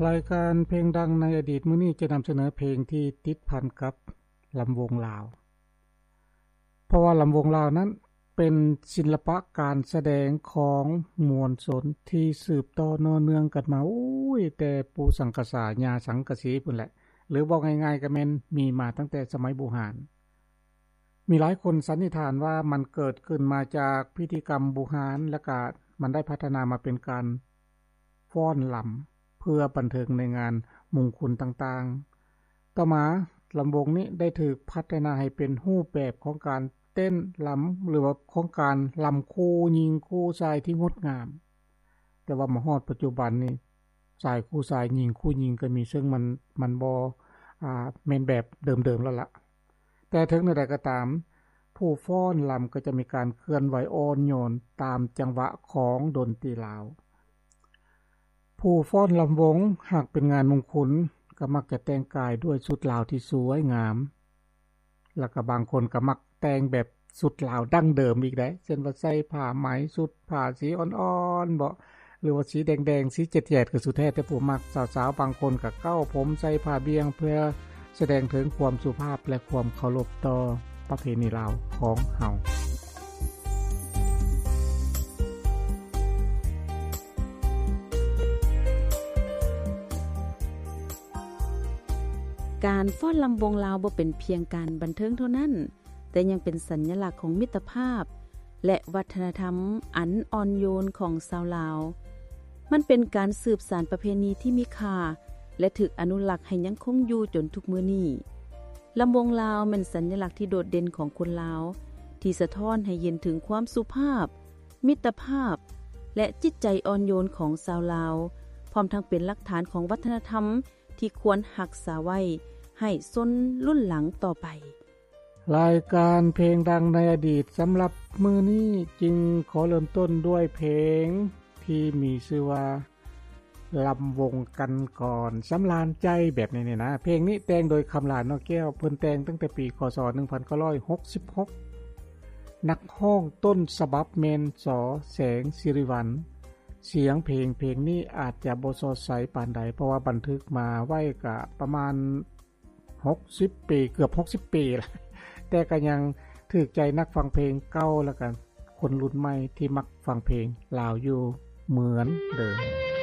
ລາຍການເພງດັງໃນອະດີດມື້ນີ້ຈະນຳສະເໜີເພງທີ່ຕິດພັນກັບລຳວົງລາວ ເພາະວ່າລຳວົງລາວນັ້ນເປັນສິລະປະການສະແດງຂອງມວນຊົນທີ່ສືບຕໍ່ເນືອງກັນມາ ໂອ້ຍ ແຕ່ປູ່ສັງກະສາ ຍ່າສັງກະສີພຸ້ນແຫຼະ ຫຼືເວົ້າງ່າຍໆກໍແມ່ນມີມາຕັ້ງແຕ່ສະໄໝບູຮານ. ມີຫຼາຍຄົນສັນນິຖານວ່າມັນເກີດຂຶ້ນມາຈາກພິທີກຳບູຮານ ແລະກະມັນໄດ້ພັດທະນາມາເປັນການຟ້ອນລຳ ເພື່ອບັນເທີງໃນງານມຸງຄຸນຕ່າງໆ. ຕໍ່ມາລຳວົງນີ້ໄດ້ຖືກພັດທະນາໃຫ້ເປັນຮູບແບບຂອງການເຕັ້ນລຳ ຫຼືວ່າຂອງການລຳຄູ່ຍິງຄູ່ຊາຍທີ່ງົດງາມ. ແຕ່ວ່າມາຮອດປັດຈຸບັນນີ້ ຊາຍຄູ່ຊາຍ ຍິງຄູ່ຍິງກໍມີ ເຊິ່ງມັນ ມັນບໍ່ ອາ ແມ່ນແບບເດີມໆແລ້ວລະ. ແຕ່ເຖິງແນວໃດກໍຕາມ ຜູ້ຟ້ອນລຳກໍຈະມີການເຄື່ອນໄຫວອ່ອນໂຍນຕາມຈັງຫວະຂອງດົນຕີລາວ. ຜູ້ຟ້ອນລຳວົງ ຫາກເປັນງານມຸງຄຸນ ກໍມັກຈະແຕ່ງກາຍດ້ວຍຊຸດລາວທີ່ສວຍງາມ ແລ້ວກໍບາງຄົນກໍມັກແຕ່ງແບບຊຸດລາວດັ້ງເດີມອີກໄດ໋ ເຊັ່ນວ່າໃສ່ຜ້າໄໝ ຊຸດຜ້າສີອ່ອນໆເບາະ ຫຼືວ່າສີແດງໆ ສີແຈດໆ ກໍສຸດແທ້ແຕ່ຜູ້ມັກ. ສາວໆບາງຄົນກໍເກົ້າຜົມໃສ່ຜ້າບ່ຽງ ເພື່ອສະແດງເຖິງຄວາມສຸພາບ ແລະ ຄວາມເຄົາລົບຕໍ່ປະເພນີລາວຂອງເຮົາ. ການຟ້ອນລຳວົງລາວບໍ່ເປັນພຽງການບັນເທີງເທົ່ານັ້ນ, ແຕ່ຍັງເປັນສັນຍະລັກຂອງມິດຕະພາບ ແລະ ວັດທະນະທຳອັນອ່ອນໂຍນຂອງຊາວລາວ. ມັນເປັນການສືບສານປະເພນີທີ່ມີຄ່າ ແລະ ຖືກອະນຸລັກໃຫ້ຍັງຄົງຢູ່ຈົນທຸກມື້ນີ້. ລຳວົງລາວແມ່ນສັນຍະລັກທີ່ໂດດເດັ່ນຂອງຄົນລາວ ທີ່ສະທ້ອນໃຫ້ເຫັນເຖິງຄວາມສຸພາບ, ມິດຕະພາບ ແລະ ຈິດໃຈອ່ອນໂຍນຂອງຊາວລາວ, ພ້ອມທັງເປັນຫຼັກຖານຂອງວັດທະນະທຳ ທີ່ຄວນຮັກສາໄວ້ໃຫ້ຊົນລຸ້ນຫຼັງຕໍ່ໄປ. ລາຍການເພງດັງໃນອະດີດສຳລັບມື້ນີ້ຈຶ່ງຂໍເລີ່ມຕົ້ນດ້ວຍເພງທີ່ມີຊື່ວ່າ ລຳວົງກັນກ່ອນ ສຳລານໃຈ ແບບນີ້ນີ້ນະ. ເພງນີ້ແຕ່ງໂດຍ ຄຳຫຼາ ນອກແກ້ວ, ເພິ່ນແຕ່ງຕັ້ງແຕ່ປີ ຄ.ສ. ໜຶ່ງພັນເກົ້າຮ້ອຍຫົກສິບຫົກ ນັກຮ້ອງຕົ້ນສະບັບແມ່ນ ສ. ແສງສິລິວັນ. ສຽງເພງ ເພງນີ້ອາດຈະບໍ່ສອດໃສປານໃດ ເພາະວ່າບັນທຶກມາໄວ້ກະປະມານຫົກສິບປີ ເກືອບຫົກສິບປີລະ ແຕ່ກະຍັງຖືກໃຈນັກຟັງເພງເກົ່າ ແລະກະຄົນລຸ້ນໃໝ່ທີ່ມັກຟັງເພງລາວຢູ່ເໝືອນເດີມ.